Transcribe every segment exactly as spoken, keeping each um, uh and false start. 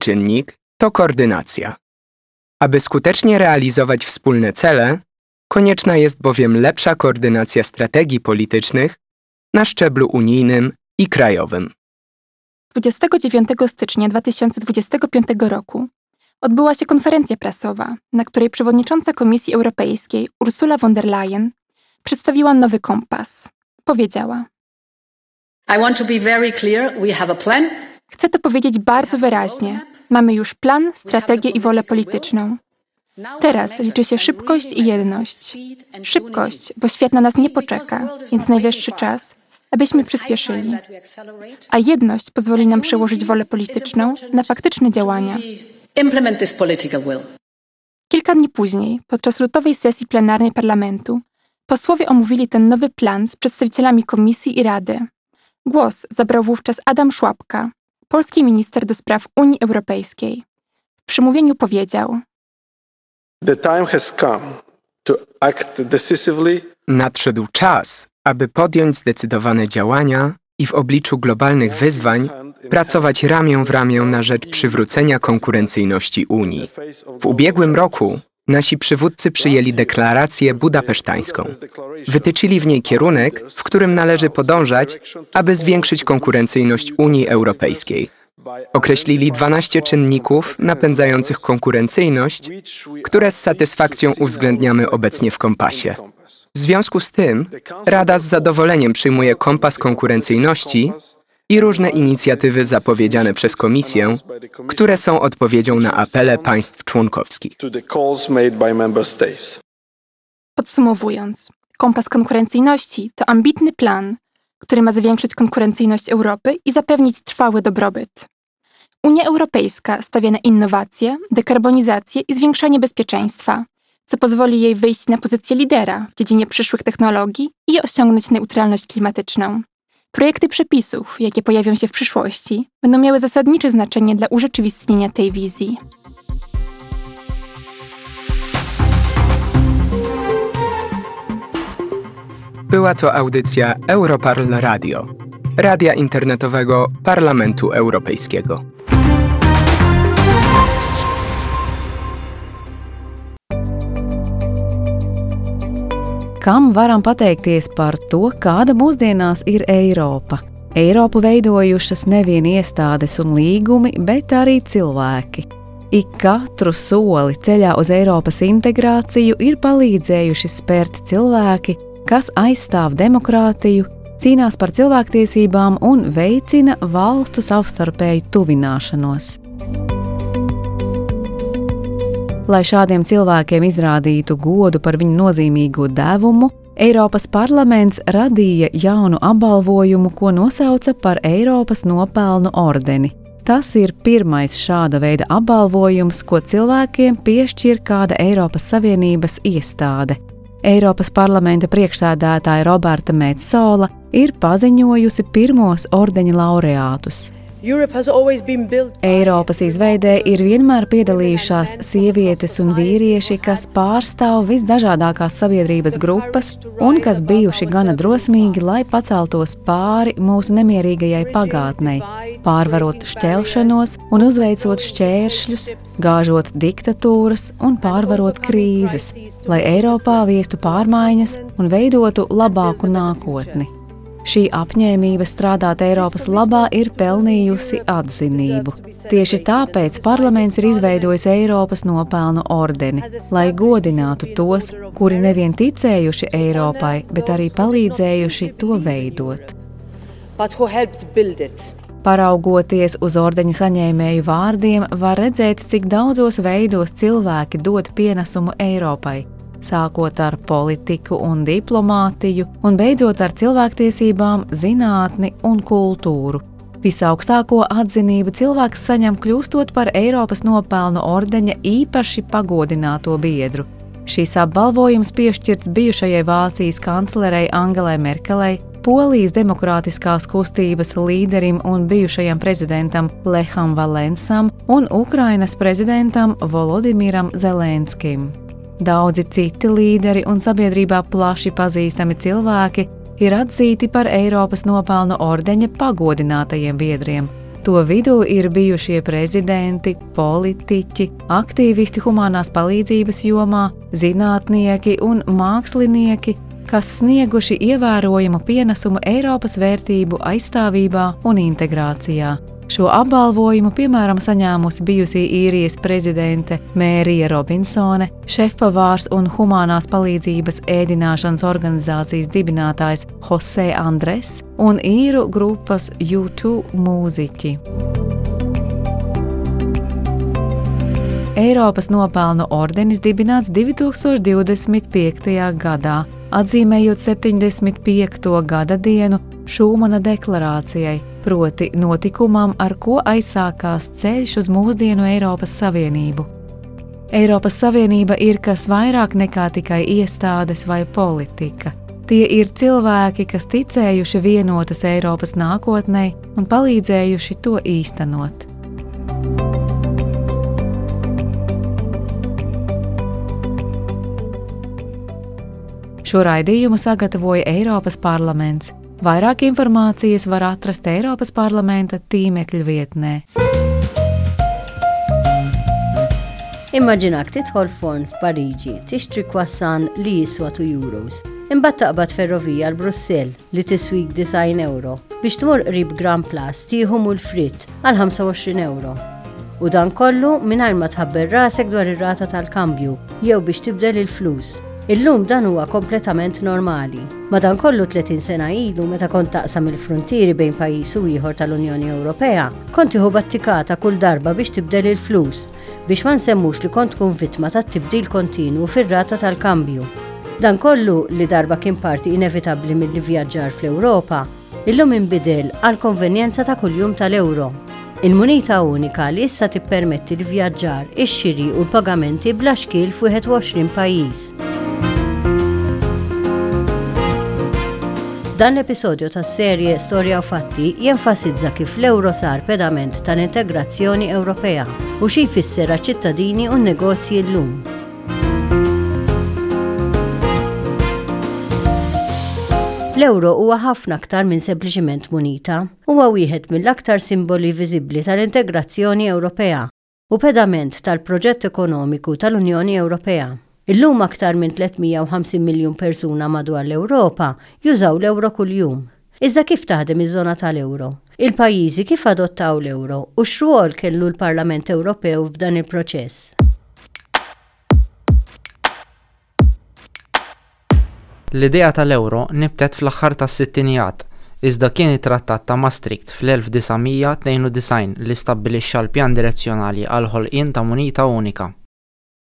Czynnik to koordynacja. Aby skutecznie realizować wspólne cele, konieczna jest bowiem lepsza koordynacja strategii politycznych na szczeblu unijnym i krajowym. dwudziestego dziewiątego stycznia dwa tysiące dwudziestego piątego roku odbyła się konferencja prasowa, na której przewodnicząca Komisji Europejskiej Ursula von der Leyen przedstawiła nowy kompas. Powiedziała: I want to be very clear, we have a plan. Chcę to powiedzieć bardzo wyraźnie. Mamy już plan, strategię i wolę polityczną. Teraz liczy się szybkość i jedność. Szybkość, bo świat na nas nie poczeka, więc najwyższy czas, abyśmy przyspieszyli. A jedność pozwoli nam przełożyć wolę polityczną na faktyczne działania. Implement this political will. Kilka dni później, podczas lutowej sesji plenarnej parlamentu, posłowie omówili ten nowy plan z przedstawicielami Komisji i Rady. Głos zabrał wówczas Adam Szłapka, polski minister do spraw Unii Europejskiej. W przemówieniu powiedział: The time has come to act decisively. Nadszedł czas, aby podjąć zdecydowane działania i w obliczu globalnych wyzwań pracować ramię w ramię na rzecz przywrócenia konkurencyjności Unii. W ubiegłym roku nasi przywódcy przyjęli deklarację budapesztańską. Wytyczyli w niej kierunek, w którym należy podążać, aby zwiększyć konkurencyjność Unii Europejskiej. Określili dwanaście czynników napędzających konkurencyjność, które z satysfakcją uwzględniamy obecnie w kompasie. W związku z tym Rada z zadowoleniem przyjmuje kompas konkurencyjności i różne inicjatywy zapowiedziane przez Komisję, które są odpowiedzią na apele państw członkowskich. To the calls made by member states. Podsumowując, kompas konkurencyjności to ambitny plan, który ma zwiększyć konkurencyjność Europy i zapewnić trwały dobrobyt. Unia Europejska stawia na innowacje, dekarbonizację i zwiększanie bezpieczeństwa, co pozwoli jej wyjść na pozycję lidera w dziedzinie przyszłych technologii i osiągnąć neutralność klimatyczną. Projekty przepisów, jakie pojawią się w przyszłości, będą miały zasadnicze znaczenie dla urzeczywistnienia tej wizji. Była to audycja Europarl Radio, radia internetowego Parlamentu Europejskiego. Kam varam pateikties par to, kāda mūsdienās ir Eiropa? Eiropu veidojušas nevien iestādes un līgumi, bet arī cilvēki. Ik katru soli ceļā uz Eiropas integrāciju ir palīdzējuši spērt cilvēki, kas aizstāv demokrātiju, cīnās par cilvēktiesībām un veicina valstu savstarpēju tuvināšanos. Lai šādiem cilvēkiem izrādītu godu par viņu nozīmīgo devumu, Eiropas parlaments radīja jaunu apbalvojumu, ko nosauca par Eiropas nopelnu ordeni. Tas ir pirmais šāda veida apbalvojums, ko cilvēkiem piešķir kāda Eiropas Savienības iestāde. Eiropas parlamenta priekšsēdētāja Roberta Metsola ir paziņojusi pirmos ordeņa laureātus. Europe has always been built by Eiropas izveidē ir vienmēr piedalījušās sievietes un vīrieši, kas pārstāv visdažādākās sabiedrības grupas un kas bijuši gana drosmīgi, lai paceltos pāri mūsu nemierīgajai pagātnei, pārvarot šķelšanos un uzveicot šķēršļus, gāžot diktatūras un pārvarot krīzes, lai Eiropā viestu pārmaiņas un veidotu labāku nākotni. Šī apņēmība strādāt Eiropas labā ir pelnījusi atzinību. Tieši tāpēc parlaments ir izveidojis Eiropas nopelnu ordeni, lai godinātu tos, kuri nevien ticējuši Eiropai, bet arī palīdzējuši to veidot. But who helped build it. Paraugoties uz ordeņa saņēmēju vārdiem, var redzēt, cik daudzos veidos cilvēki dod pienesumu Eiropai, sākot ar politiku un diplomātiju un beidzot ar cilvēktiesībām, zinātni un kultūru. Visaugstāko atzinību cilvēks saņem kļūstot par Eiropas nopelnu ordeņa īpaši pagodināto biedru. Šis apbalvojums piešķirts bijušajai Vācijas kanclerei Angelai Merkelei, Polijas demokrātiskās kustības līderim un bijušajam prezidentam Leham Valensam un Ukrainas prezidentam Volodimiram Zelenskim. Daudzi citi līderi un sabiedrībā plaši pazīstami cilvēki ir atzīti par Eiropas nopelnu ordeņa pagodinātajiem biedriem. To vidū ir bijušie prezidenti, politiķi, aktīvisti humanās palīdzības jomā, zinātnieki un mākslinieki, kas snieguši ievērojamu pienesumu Eiropas vērtību aizstāvībā un integrācijā. Šo apbalvojumu, piemēram, saņēmusi bijusī Īrijas prezidente Mērija Robinsone, šefpavārs un humanās palīdzības ēdināšanas organizācijas dibinātājs Jose Andres un īru grupas U two mūziķi. Eiropas nopelnu ordenis dibināts divtūkstoš divdesmit piektajā gadā, atzīmējot septiņdesmit piekto gada dienu Šūmana deklarācijai, proti notikumam, ar ko aizsākās ceļš uz mūsdienu Eiropas Savienību. Eiropas Savienība ir kas vairāk nekā tikai iestādes vai politika. Tie ir cilvēki, kas ticējuši vienotas Eiropas nākotnei un palīdzējuši to īstenot. Šo raidījumu sagatavoja Eiropas Parlaments. Vairāk informācijas var atrast Eiropas Parlamenta tīmekļa vietnē. Immaġinak tidħol forn f'Pariġi, tixtri croissant li jiswa two euros. Imbagħad taqbad ferrovija għal Brussell li tiswik disgħin euro biex tmur qrib Grand Place tieħu moules frites għal ħamsa u għoxrin euro. U dan kollu mingħajr ma tħabbar rasek dwar ir-rata tal-kambju jew biex tibdel il-flus. Illum dan huwa kompletament normali. Madankollu tletin sena ilu, meta kont taqsam il-frontieri bejn pajjiż u ieħor tal-Unjoni Ewropea, kont tieħu battikata kull darba biex tibdel il-flus, biex ma nsemmux li kont tkun vittma tat-tibdil kontinu fir-rata tal-kambju. Dan kollu li darba kien parti inevitabbli mill-vjaġġar fl-Ewropa, illum inbidel għal konvenjenza ta' kuljum tal-euro. Il-munita unika li issa tippermetti l-vjaġġar, ix-xiri u l-pagamenti bla xkiel f'wieħed u għoxrin pajjiż. Dan l-episodju tas-serje Storja u Fatti jenfasizza kif l-euro sar pedament tal-integrazzjoni Ewropea u xi jfisser ċittadini u negozji llum. L-euro huwa ħafna aktar minn sempliċiment munita, huwa wieħed mill-aktar simboli viżibbli tal-integrazzjoni Ewropea u pedament tal-proġett ekonomiku tal-Unjoni Ewropea. Illum aktar minn tliet mija u ħamsin miljun persuna madwar l-Ewropa jużaw l-euro kuljum. Iżda kif taħdem iż-żona tal-euro? Il-pajjiżi kif adottaw l-euro u x'rwol kellu l-Parlament Ewropew f'dan il-proċess? L-idea tal-euro nibtet fl-aħħar tas-sittinijat, iżda kien it-Trattat ta' Maastricht fl-elf disa' mija tnejn u disgħin li stabbilixxa l-pjan direzzjonali għal ħolqien ta' munita unika.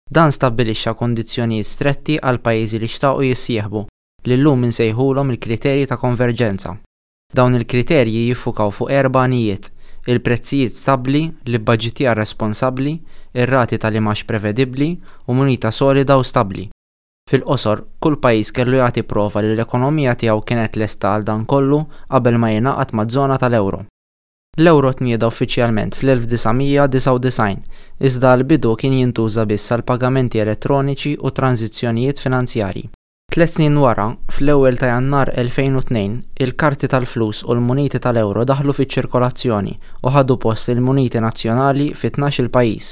Dan stabbilixxa kondizzjonijiet stretti għal pajjiżi li xtaqu jissieħbu, li llum insejħulhom il-kriterji ta' konverġenza. Dawn il-kriterji jiffukaw fuq erba' għanijiet: il-prezzijiet stabbli, l-ibbaġitjar responsabbli, ir-rati tal-imgħax prevedibbli u munita solida u stabbli. Fil-qosor, kull pajjiż kellu jagħti prova li l-ekonomija tiegħu kienet lesta għal dan kollu qabel ma jingħaqad maż-żona tal-euro. L-euro tnieda uffiċjalment fl-elf disa' mija disgħa u disgħin, iżda għal-bidu kien jintuża biss għal pagamenti elettroniċi u tranzizzjonijiet finanzjarji. Tliet snin wara, fl-ewwel ta' Jannar elfejn u tnejn, il-karti tal-flus u l-muniti tal-euro daħlu fiċ-ċirkolazzjoni u ħadu post il-muniti nazzjonali fi tnax-il pajjiż.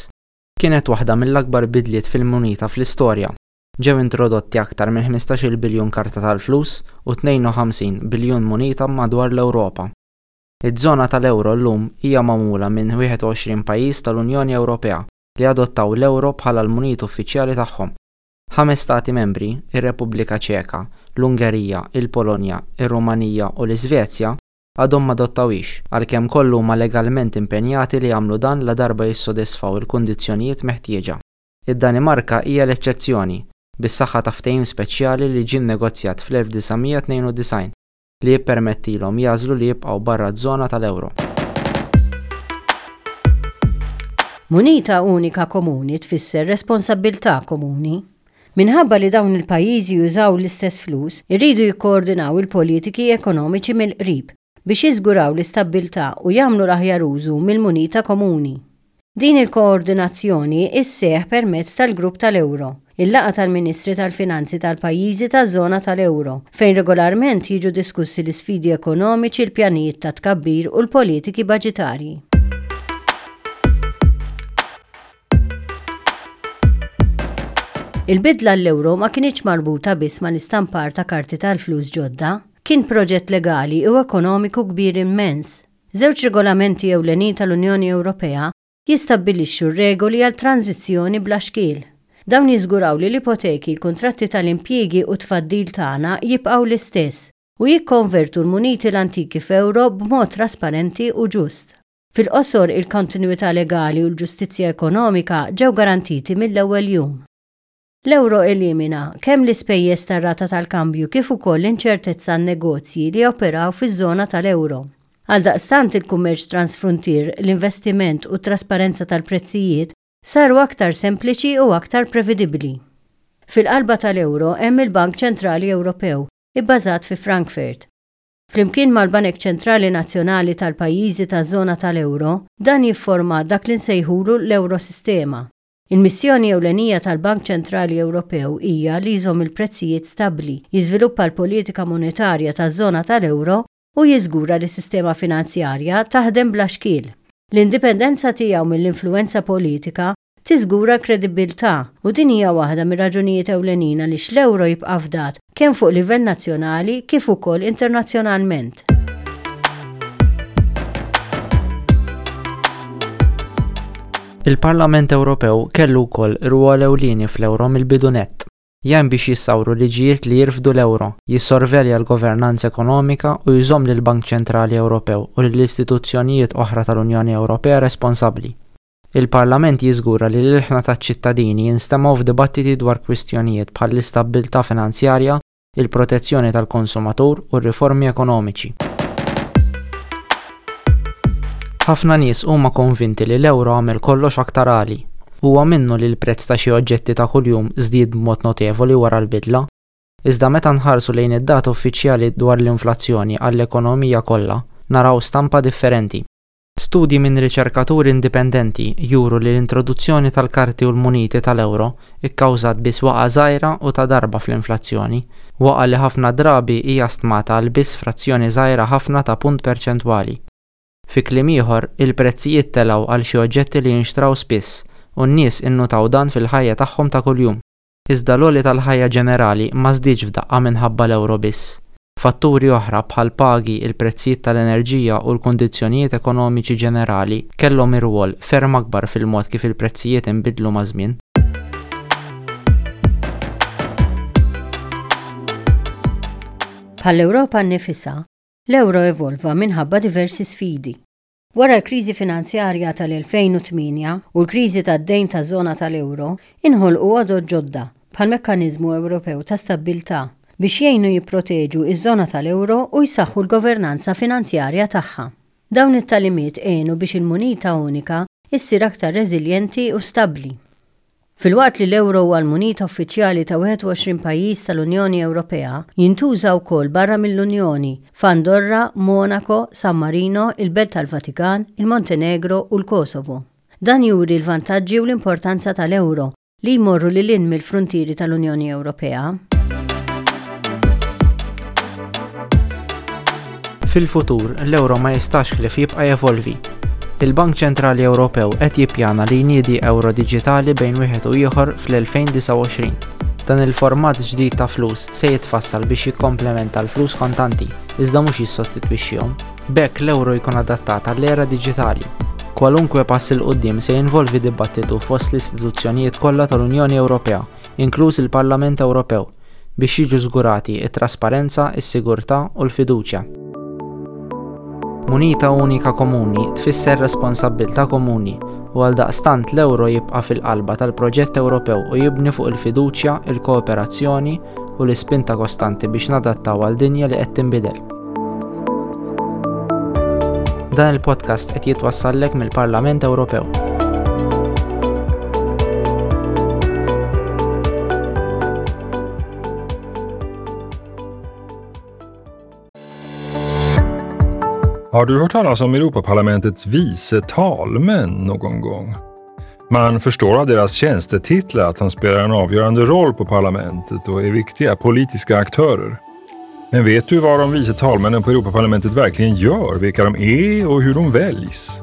Kienet waħda mill-akbar bidliet fil-munita fl-istorja. Ġew introdotti aktar minn ħmistax-il biljun karta tal-flus u tnejn u ħamsin biljun munita madwar l-Ewropa. Iż-żona tal-euro llum hija magħmula minn wieħed u għoxrin pajjiż tal-Unjoni Ewropea li adottaw l-euro bħala l-munita uffiċjali tagħhom. Ħames stati membri, ir-Repubblika Ċeka, l-Ungerija, il-Polonja, ir-Rumanija u l-Iżvezja, għadhom ma adottawhiex, għalkemm kollha huma legalment impenjati li jagħmlu dan la darba jissodisfaw il-kundizzjonijiet meħtieġa. Id-Danimarka hija l-eċċezzjoni, bis-saħħa ta' ftehim speċjali li ġie nnegozjat fl-elf disa' mija tnejn u disgħin li jippermettilhom jagħżlu li jibqgħu barra ż-żona tal-euro. Munita unika komuni tfisser responsabbiltà komuni. Minħabba li dawn il-pajjiżi jużaw l-istess flus, irridu jikkoordinaw il-politiki ekonomiċi mill-qrib biex jiżguraw l-istabbiltà u jagħmlu l-aħjar użu mill-munita komuni. Din il-koordinazzjoni isseħ permezz tal-Grupp tal-Euro, il-laqgħa tal-Ministri tal-Finanzi tal-pajjiżi taż-żona tal-Euro, fejn regolarment jiġu diskussi l-isfidi ekonomiċi, l-pjanijiet ta' tkabbir u l-politiki baġitarji. Il-bidla għall-euro ma kinitx marbuta biss mal-istampar ta' karti tal-flus ġodda, kien proġett legali u ekonomiku kbir immens. Żewġ regolamenti ewlenin tal-Unjoni Ewropea jistabbilixxu regoli għal tranzizzjoni bla xkiel. Dawn jiżguraw li l-ipoteki, l-kuntratti tal-impjiegi u tfaddil tagħna jibqgħu l-istess u jikkonvertu l-muniti l-antiki f'euro b'mod trasparenti u ġust. Fil-qosor, il-kontinuità legali u l-ġustizzja ekonomika ġew garantiti mill-ewwel jum. L-euro elimina kemm l-ispejjeż tar-rata tal-kambju kif ukoll l-inċertezza għan-negozji li joperaw fiż-żona tal-euro. Għaldaqstant il-kummerċ transfruntier, l-investiment u t-trasparenza tal-prezzijiet saru aktar sempliċi u aktar prevedibbli. Fil-qalba tal-euro hemm il-Bank Ċentrali Ewropew, ibbażat fi Frankfurt. Flimkien mal-Banek Ċentrali Nazzjonali tal-pajjiżi taż-żona tal-euro, dan jifforma dak li nsejħulu l-Eurosistema. Il-missjoni ewlenija tal-Bank Ċentrali Ewropew hija li jżomm il-prezzijiet stabbli, jiżviluppa l-politika monetarja taż-żona tal-euro u jiżgura li s-sistema finanzjarja taħdem bla xkiel. L-indipendenza tiegħu mill-influwenza politika tiżgura l-kredibbiltà u din hija waħda mir-raġunijiet ewlenin għaliex l-euro jibqa' fdat kemm fuq livell nazzjonali kif ukoll internazzjonalment. Il-Parlament Ewropew kellu wkoll rwol ewlieni fl-euro mill-bidu nett. Jgħin biex jissawru liġijiet li jirfdu l-euro, jissorvelja l-governanza ekonomika u jżomm lill-Bank Ċentrali Ewropew u lill-istituzzjonijiet oħra tal-Unjoni Ewropea responsabbli. Il-Parlament jiżgura li l-ilħna taċ-ċittadini jinstemgħu f'dibattiti dwar kwistjonijiet bħall-istabbiltà finanzjarja, il-protezzjoni tal-konsumatur u r-riformi ekonomiċi. Ħafna nies huma konvinti li l-euro għamel kollox aktar għali. Huwa minnu li l-prezz ta' xi oġġetti ta' kuljum żdied b'mod notevoli wara l-bidla. Iżda meta nħarsu lejn id-data uffiċjali dwar l-inflazzjoni għall-ekonomija kollha, naraw stampa differenti. Studji minn riċerkaturi indipendenti juru li l-introduzzjoni tal-karti u l-muniti tal-euro ikkawżat biss waqgħa żgħira u ta' darba fl-inflazzjoni, waqgħa li ħafna drabi hija stmata għal biss frazzjoni żgħira ħafna ta' punt perċentwali. Fi kliem ieħor, il-prezzijiet telgħu għal xi oġġetti li jinxtraw spiss u n-nies innutaw dan fil-ħajja tagħhom ta' kuljum. Iżda l-għoli tal-ħajja ġenerali ma żdiedx f'daqqa minħabba l-euro biss. Fatturi oħra bħal pagi, il-prezzijiet tal-enerġija u l-kundizzjonijiet ekonomiċi ġenerali kellhom irwol ferm akbar fil-mod kif il-prezzijiet inbidlu maż-żmien. Bħall-Ewropa nnifisha, l-euro evolva minħabba diversi sfidi. Wara l-kriżi finanzjarja tal-elfejn u tmienja u l-kriżi tad-dejn taż-żona tal-euro, inħolqu għodod ġodda bħal Mekkaniżmu Ewropew ta' Stabbiltà biex jgħinu jipproteġu iż-żona tal-euro u jsaħħu l-governanza finanzjarja tagħha. Dawn it-tagħlimiet għenu biex il-munita unika issir aktar reżiljenti u stabbli. Filwaqt li l-euro huwa l-munita uffiċjali ta' wieħed u għoxrin pajjiż tal-Unjoni Ewropea, jintuża wkoll barra mill-Unjoni f'Andorra, Monaco, San Marino, il-Belt tal-Vatikan, il-Montenegro u l-Kosovo. Dan juri l-vantaġġi u l-importanza tal-euro li jmorru lil hinn mill-frontieri tal-Unjoni Ewropea. Fil-futur, l-euro ma jistax ħlief jibqa' jevolvi. Il-Bank Ċentrali Ewropew qed jippjana li jniedi euro diġitali bejn wieħed u ieħor fl-elfejn disgħa u għoxrin. Dan il-format ġdid ta' flus se jitfassal biex jikkomplementa l-flus kontanti, iżda mhux jissostitwixxihom. B'hekk l-euro jkun adattat għall-era diġitali. Kwalunkwe pass il quddiem se jinvolvi dibattitu fost l-istituzzjonijiet kollha tal-Unjoni Ewropea, inkluż il-Parlament Ewropew, biex jiġu żgurati t-trasparenza, is-sigurtà u l-fiduċja. Munita unika komuni tfisser responsabbiltà komuni u għaldaqstant l-euro jibqa' fil-qalba tal-proġett Ewropew u jibni fuq il-fiduċja, il-kooperazzjoni u l-ispinta kostanti biex nadattaw għal dinja li qed tinbidel. Dan il-podcast qed jitwassallek mill-Parlament Ewropew. Har du hört talas om Europaparlamentets vice talmän någon gång? Man förstår av deras tjänstetitlar att de spelar en avgörande roll på parlamentet och är viktiga politiska aktörer. Men vet du vad de vice talmännen på Europaparlamentet verkligen gör, vilka de är och hur de väljs?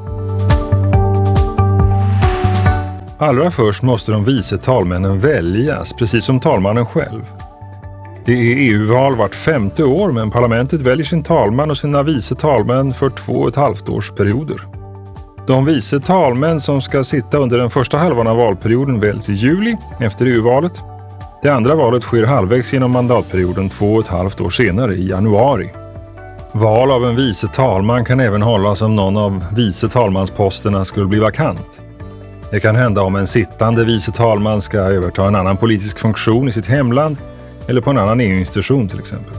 Allra först måste de vice talmännen väljas, precis som talmannen själv. Det är E U-val vart femte år, men parlamentet väljer sin talman och sina vice talmän för två och ett halvt års perioder. De vice talmän som ska sitta under den första halvan av valperioden väljs i juli efter E U-valet. Det andra valet sker halvvägs genom mandatperioden två och ett halvt år senare i januari. Val av en vice talman kan även hållas om någon av vice talmansposterna skulle bli vakant. Det kan hända om en sittande vice talman ska överta en annan politisk funktion i sitt hemland eller på en annan E U-institution till exempel.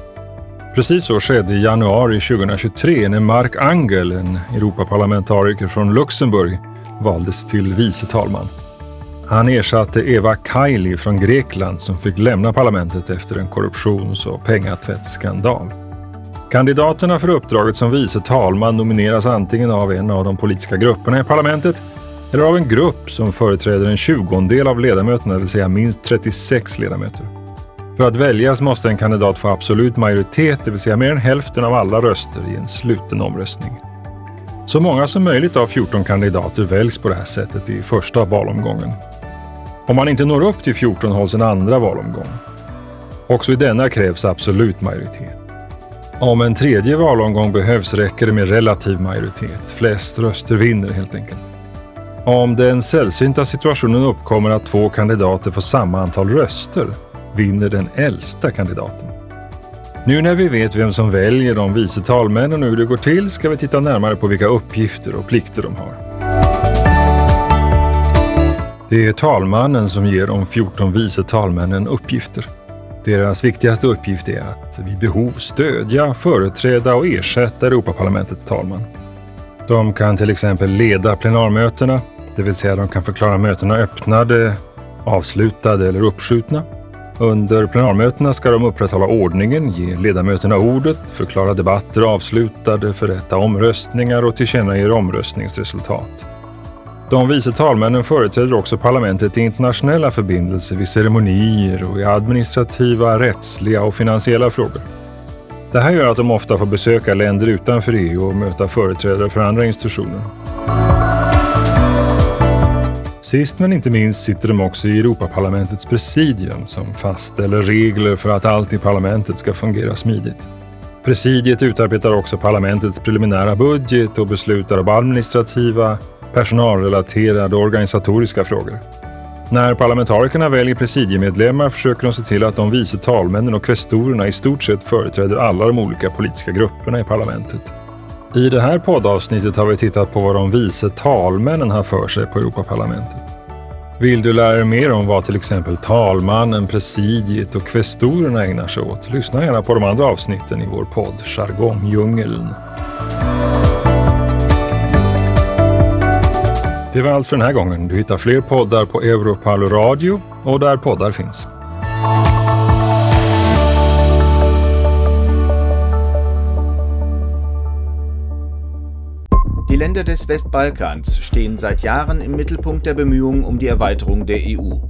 Precis så skedde i januari tjugohundratjugotre när Marc Angel, en Europaparlamentariker från Luxemburg, valdes till vice talman. Han ersatte Eva Kaili från Grekland som fick lämna parlamentet efter en korruptions- och pengatvättsskandal. Kandidaterna för uppdraget som vice talman nomineras antingen av en av de politiska grupperna i parlamentet eller av en grupp som företräder en tjugondel av ledamöterna, det vill säga minst trettiosex ledamöter. För att väljas måste en kandidat få absolut majoritet, det vill säga mer än hälften av alla röster i en sluten omröstning. Så många som möjligt av fjorton kandidater väljs på det här sättet i första valomgången. Om man inte når upp till fjorton hålls en andra valomgång. Också i denna krävs absolut majoritet. Om en tredje valomgång behövs räcker det med relativ majoritet. Flest röster vinner helt enkelt. Om den sällsynta situationen uppkommer att två kandidater får samma antal röster, vinner den äldsta kandidaten. Nu när vi vet vem som väljer de vice talmännen och hur det går till ska vi titta närmare på vilka uppgifter och plikter de har. Det är talmannen som ger de fjorton vice talmännen uppgifter. Deras viktigaste uppgift är att vid behov stödja, företräda och ersätta Europaparlamentets talman. De kan till exempel leda plenarmötena, det vill säga de kan förklara mötena öppnade, avslutade eller uppskjutna. Under plenarmötena ska de upprätthålla ordningen, ge ledamöterna ordet, förklara debatter avslutade, förrätta omröstningar och tillkännage omröstningsresultat. De vice talmännen företräder också parlamentet i internationella förbindelser vid ceremonier och i administrativa, rättsliga och finansiella frågor. Det här gör att de ofta får besöka länder utanför E U och möta företrädare för andra institutioner. Sist men inte minst sitter de också i Europaparlamentets presidium som fastställer regler för att allt i parlamentet ska fungera smidigt. Presidiet utarbetar också parlamentets preliminära budget och beslutar om administrativa, personalrelaterade och organisatoriska frågor. När parlamentarikerna väljer presidiemedlemmar försöker de se till att de vice talmännen och kvestorerna i stort sett företräder alla de olika politiska grupperna i parlamentet. I det här poddavsnittet har vi tittat på vad de vice talmännen har för sig på Europaparlamentet. Vill du lära dig mer om vad till exempel talmannen, presidiet och kvestorerna ägnar sig åt? Lyssna gärna på de andra avsnitten i vår podd Jargongdjungeln. Det var allt för den här gången. Du hittar fler poddar på Europarl Radio och där poddar finns. Die Länder des Westbalkans stehen seit Jahren im Mittelpunkt der Bemühungen um die Erweiterung der E U.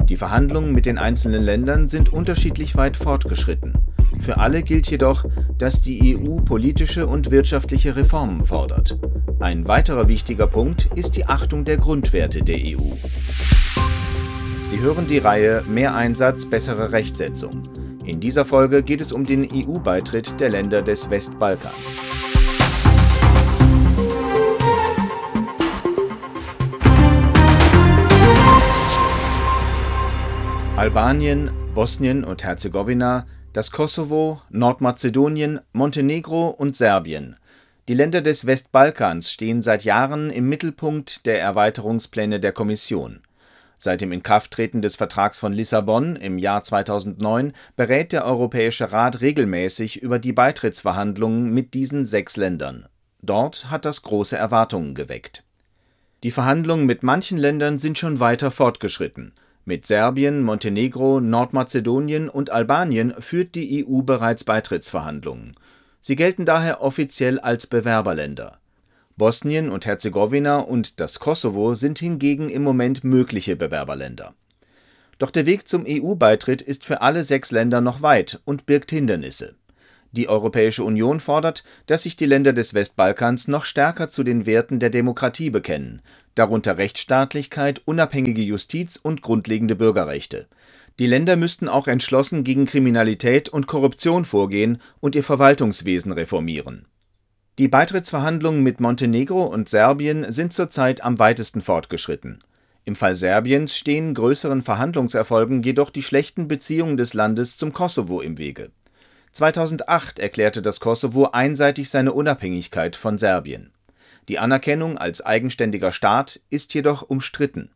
Die Verhandlungen mit den einzelnen Ländern sind unterschiedlich weit fortgeschritten. Für alle gilt jedoch, dass die E U politische und wirtschaftliche Reformen fordert. Ein weiterer wichtiger Punkt ist die Achtung der Grundwerte der E U. Sie hören die Reihe Mehr Einsatz, bessere Rechtsetzung. In dieser Folge geht es um den E U-Beitritt der Länder des Westbalkans. Albanien, Bosnien und Herzegowina, das Kosovo, Nordmazedonien, Montenegro und Serbien. Die Länder des Westbalkans stehen seit Jahren im Mittelpunkt der Erweiterungspläne der Kommission. Seit dem Inkrafttreten des Vertrags von Lissabon im Jahr zweitausendneun berät der Europäische Rat regelmäßig über die Beitrittsverhandlungen mit diesen sechs Ländern. Dort hat das große Erwartungen geweckt. Die Verhandlungen mit manchen Ländern sind schon weiter fortgeschritten. Mit Serbien, Montenegro, Nordmazedonien und Albanien führt die E U bereits Beitrittsverhandlungen. Sie gelten daher offiziell als Bewerberländer. Bosnien und Herzegowina und das Kosovo sind hingegen im Moment mögliche Bewerberländer. Doch der Weg zum E U-Beitritt ist für alle sechs Länder noch weit und birgt Hindernisse. Die Europäische Union fordert, dass sich die Länder des Westbalkans noch stärker zu den Werten der Demokratie bekennen, darunter Rechtsstaatlichkeit, unabhängige Justiz und grundlegende Bürgerrechte. Die Länder müssten auch entschlossen gegen Kriminalität und Korruption vorgehen und ihr Verwaltungswesen reformieren. Die Beitrittsverhandlungen mit Montenegro und Serbien sind zurzeit am weitesten fortgeschritten. Im Fall Serbiens stehen größeren Verhandlungserfolgen jedoch die schlechten Beziehungen des Landes zum Kosovo im Wege. zweitausendacht erklärte das Kosovo einseitig seine Unabhängigkeit von Serbien. Die Anerkennung als eigenständiger Staat ist jedoch umstritten.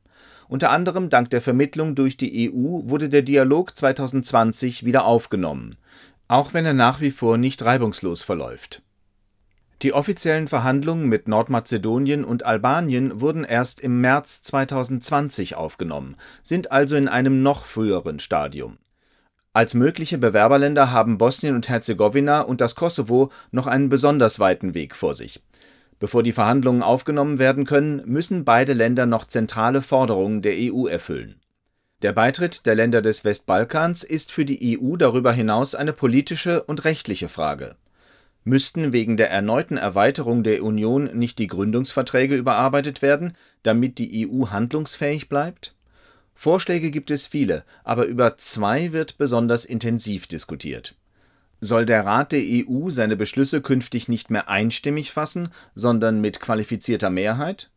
Unter anderem dank der Vermittlung durch die E U wurde der Dialog zweitausendzwanzig wieder aufgenommen, auch wenn er nach wie vor nicht reibungslos verläuft. Die offiziellen Verhandlungen mit Nordmazedonien und Albanien wurden erst im März zweitausendzwanzig aufgenommen, sind also in einem noch früheren Stadium. Als mögliche Bewerberländer haben Bosnien und Herzegowina und das Kosovo noch einen besonders weiten Weg vor sich. Bevor die Verhandlungen aufgenommen werden können, müssen beide Länder noch zentrale Forderungen der E U erfüllen. Der Beitritt der Länder des Westbalkans ist für die E U darüber hinaus eine politische und rechtliche Frage. Müssten wegen der erneuten Erweiterung der Union nicht die Gründungsverträge überarbeitet werden, damit die E U handlungsfähig bleibt? Vorschläge gibt es viele, aber über zwei wird besonders intensiv diskutiert. Soll der Rat der E U seine Beschlüsse künftig nicht mehr einstimmig fassen, sondern mit qualifizierter Mehrheit?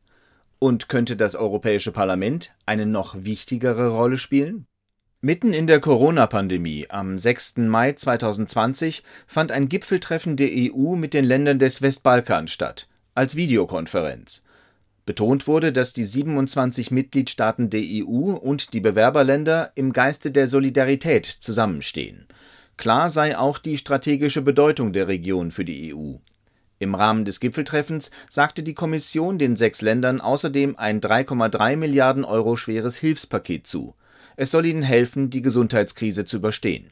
Und könnte das Europäische Parlament eine noch wichtigere Rolle spielen? Mitten in der Corona-Pandemie, am sechsten Mai zweitausendzwanzig, fand ein Gipfeltreffen der E U mit den Ländern des Westbalkans statt, als Videokonferenz. Betont wurde, dass die siebenundzwanzig Mitgliedstaaten der E U und die Bewerberländer im Geiste der Solidarität zusammenstehen. Klar sei auch die strategische Bedeutung der Region für die E U. Im Rahmen des Gipfeltreffens sagte die Kommission den sechs Ländern außerdem ein drei Komma drei Milliarden Euro schweres Hilfspaket zu. Es soll ihnen helfen, die Gesundheitskrise zu überstehen.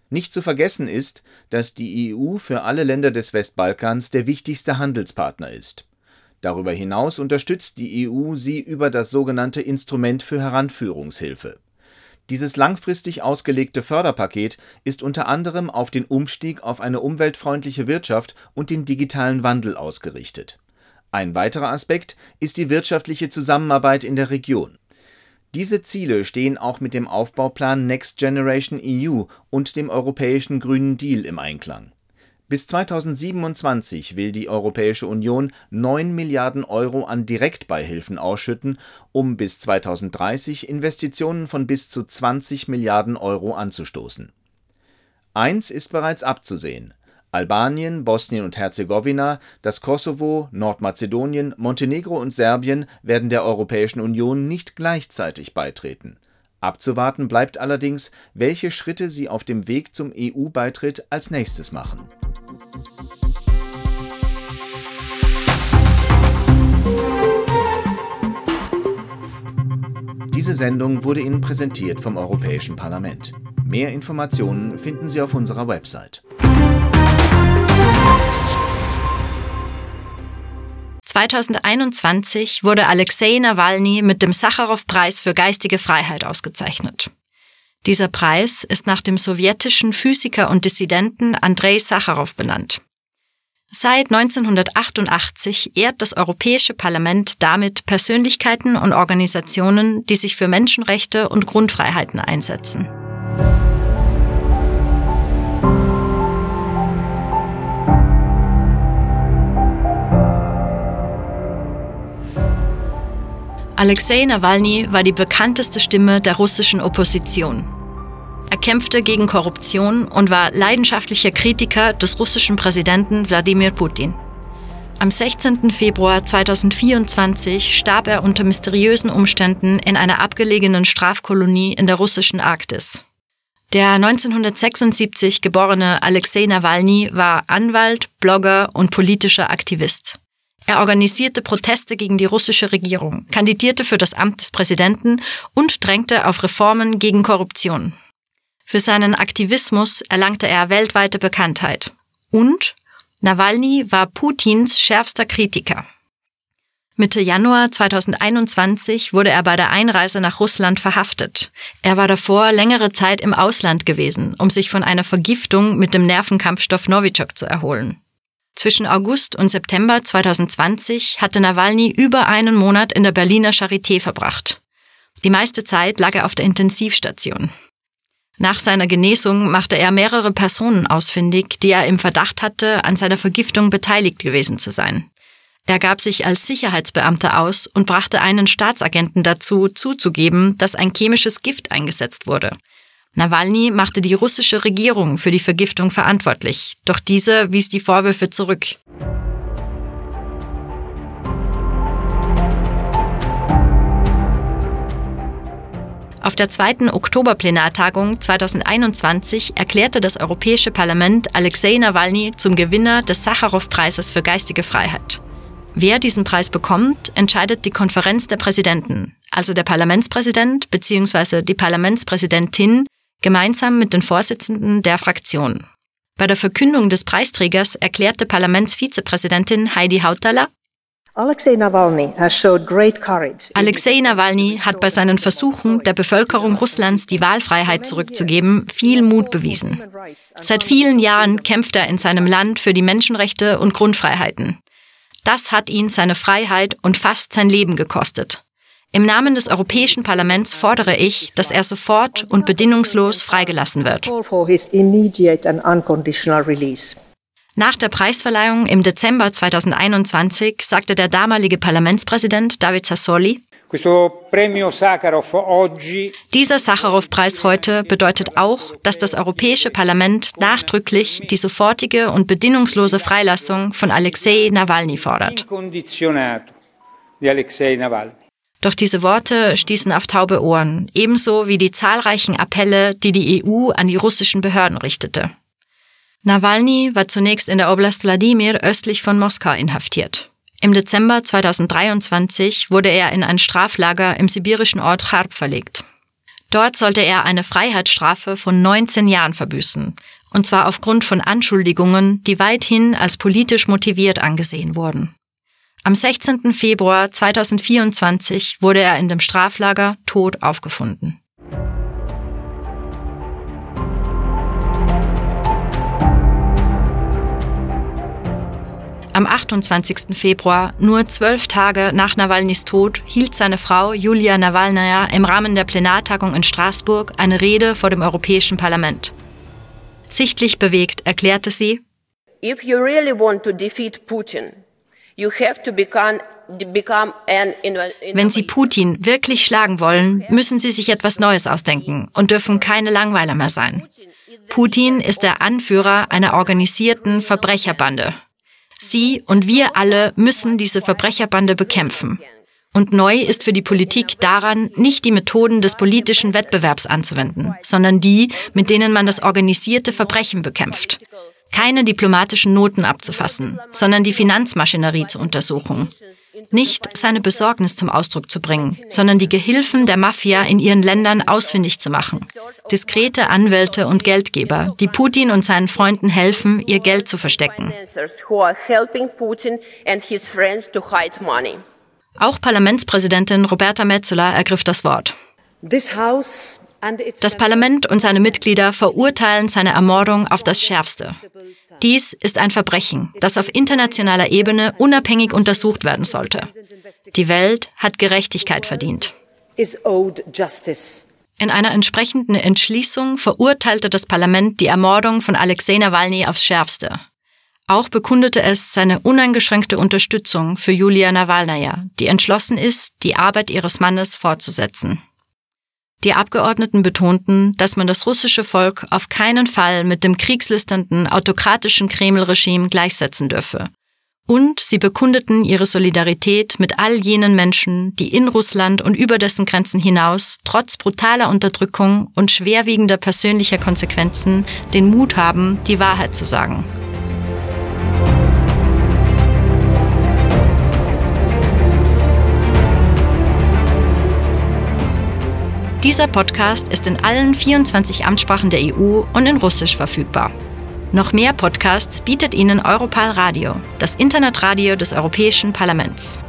Nicht zu vergessen ist, dass die E U für alle Länder des Westbalkans der wichtigste Handelspartner ist. Darüber hinaus unterstützt die E U sie über das sogenannte Instrument für Heranführungshilfe. Dieses langfristig ausgelegte Förderpaket ist unter anderem auf den Umstieg auf eine umweltfreundliche Wirtschaft und den digitalen Wandel ausgerichtet. Ein weiterer Aspekt ist die wirtschaftliche Zusammenarbeit in der Region. Diese Ziele stehen auch mit dem Aufbauplan Next Generation E U und dem Europäischen Grünen Deal im Einklang. Bis zweitausendsiebenundzwanzig will die Europäische Union neun Milliarden Euro an Direktbeihilfen ausschütten, um bis zweitausenddreißig Investitionen von bis zu zwanzig Milliarden Euro anzustoßen. Eins ist bereits abzusehen: Albanien, Bosnien und Herzegowina, das Kosovo, Nordmazedonien, Montenegro und Serbien werden der Europäischen Union nicht gleichzeitig beitreten. Abzuwarten bleibt allerdings, welche Schritte sie auf dem Weg zum E U-Beitritt als nächstes machen. Diese Sendung wurde Ihnen präsentiert vom Europäischen Parlament. Mehr Informationen finden Sie auf unserer Website. zweitausendeinundzwanzig wurde Alexei Nawalny mit dem Sacharow-Preis für geistige Freiheit ausgezeichnet. Dieser Preis ist nach dem sowjetischen Physiker und Dissidenten Andrei Sacharow benannt. Seit neunzehnhundertachtundachtzig ehrt das Europäische Parlament damit Persönlichkeiten und Organisationen, die sich für Menschenrechte und Grundfreiheiten einsetzen. Alexei Nawalny war die bekannteste Stimme der russischen Opposition. Er kämpfte gegen Korruption und war leidenschaftlicher Kritiker des russischen Präsidenten Wladimir Putin. Am sechzehnten Februar zweitausendvierundzwanzig starb er unter mysteriösen Umständen in einer abgelegenen Strafkolonie in der russischen Arktis. Der neunzehnhundertsechsundsiebzig geborene Alexei Nawalny war Anwalt, Blogger und politischer Aktivist. Er organisierte Proteste gegen die russische Regierung, kandidierte für das Amt des Präsidenten und drängte auf Reformen gegen Korruption. Für seinen Aktivismus erlangte er weltweite Bekanntheit. Und Nawalny war Putins schärfster Kritiker. Mitte Januar zweitausendeinundzwanzig wurde er bei der Einreise nach Russland verhaftet. Er war davor längere Zeit im Ausland gewesen, um sich von einer Vergiftung mit dem Nervenkampfstoff Novichok zu erholen. Zwischen August und September zweitausendzwanzig hatte Nawalny über einen Monat in der Berliner Charité verbracht. Die meiste Zeit lag er auf der Intensivstation. Nach seiner Genesung machte er mehrere Personen ausfindig, die er im Verdacht hatte, an seiner Vergiftung beteiligt gewesen zu sein. Er gab sich als Sicherheitsbeamter aus und brachte einen Staatsagenten dazu, zuzugeben, dass ein chemisches Gift eingesetzt wurde. Nawalny machte die russische Regierung für die Vergiftung verantwortlich, doch diese wies die Vorwürfe zurück. Auf der zweiten Oktoberplenartagung zweitausendeinundzwanzig erklärte das Europäische Parlament Alexei Nawalny zum Gewinner des Sacharow-Preises für geistige Freiheit. Wer diesen Preis bekommt, entscheidet die Konferenz der Präsidenten, also der Parlamentspräsident beziehungsweise die Parlamentspräsidentin, gemeinsam mit den Vorsitzenden der Fraktion. Bei der Verkündung des Preisträgers erklärte Parlamentsvizepräsidentin Heidi Hautala: Alexei Nawalny has showed great courage. Alexei Nawalny hat bei seinen Versuchen, der Bevölkerung Russlands die Wahlfreiheit zurückzugeben, viel Mut bewiesen. Seit vielen Jahren kämpft er in seinem Land für die Menschenrechte und Grundfreiheiten. Das hat ihn seine Freiheit und fast sein Leben gekostet. Im Namen des Europäischen Parlaments fordere ich, dass er sofort und bedingungslos freigelassen wird. Call for his immediate and unconditional release. Nach der Preisverleihung im Dezember zweitausendeinundzwanzig sagte der damalige Parlamentspräsident David Sassoli: Questo premio Sakharov oggi Dieser Sacharow-Preis heute bedeutet auch, dass das Europäische Parlament nachdrücklich die sofortige und bedingungslose Freilassung von Alexei Nawalny fordert. Incondizionato di Alexei Navalny. Doch diese Worte stießen auf taube Ohren, ebenso wie die zahlreichen Appelle, die die E U an die russischen Behörden richtete. Nawalny war zunächst in der Oblast Wladimir östlich von Moskau inhaftiert. Im Dezember zweitausenddreiundzwanzig wurde er in ein Straflager im sibirischen Ort Charb verlegt. Dort sollte er eine Freiheitsstrafe von neunzehn Jahren verbüßen, und zwar aufgrund von Anschuldigungen, die weithin als politisch motiviert angesehen wurden. Am sechzehnten Februar zweitausendvierundzwanzig wurde er in dem Straflager tot aufgefunden. Am achtundzwanzigsten Februar, nur zwölf Tage nach Nawalnys Tod, hielt seine Frau Julia Nawalnaja im Rahmen der Plenartagung in Straßburg eine Rede vor dem Europäischen Parlament. Sichtlich bewegt erklärte sie: If you really want to defeat Putin, you have to become, become an inno-, Wenn Sie Putin wirklich schlagen wollen, müssen Sie sich etwas Neues ausdenken und dürfen keine Langweiler mehr sein. Putin ist der Anführer einer organisierten Verbrecherbande. Sie und wir alle müssen diese Verbrecherbande bekämpfen. Und neu ist für die Politik daran, nicht die Methoden des politischen Wettbewerbs anzuwenden, sondern die, mit denen man das organisierte Verbrechen bekämpft. Keine diplomatischen Noten abzufassen, sondern die Finanzmaschinerie zu untersuchen. Nicht seine Besorgnis zum Ausdruck zu bringen, sondern die Gehilfen der Mafia in ihren Ländern ausfindig zu machen. Diskrete Anwälte und Geldgeber, die Putin und seinen Freunden helfen, ihr Geld zu verstecken. Auch Parlamentspräsidentin Roberta Metsola ergriff das Wort. This house and its Das Parlament und seine Mitglieder verurteilen seine Ermordung auf das Schärfste. Dies ist ein Verbrechen, das auf internationaler Ebene unabhängig untersucht werden sollte. Die Welt hat Gerechtigkeit verdient. Is owed justice. In einer entsprechenden Entschließung verurteilte das Parlament die Ermordung von Alexei Nawalny aufs Schärfste. Auch bekundete es seine uneingeschränkte Unterstützung für Julia Nawalnaja, die entschlossen ist, die Arbeit ihres Mannes fortzusetzen. Die Abgeordneten betonten, dass man das russische Volk auf keinen Fall mit dem kriegslüsternden, autokratischen Kreml-Regime gleichsetzen dürfe. Und sie bekundeten ihre Solidarität mit all jenen Menschen, die in Russland und über dessen Grenzen hinaus trotz brutaler Unterdrückung und schwerwiegender persönlicher Konsequenzen den Mut haben, die Wahrheit zu sagen. Dieser Podcast ist in allen vierundzwanzig Amtssprachen der E U und in Russisch verfügbar. Noch mehr Podcasts bietet Ihnen Europarl Radio, das Internetradio des Europäischen Parlaments.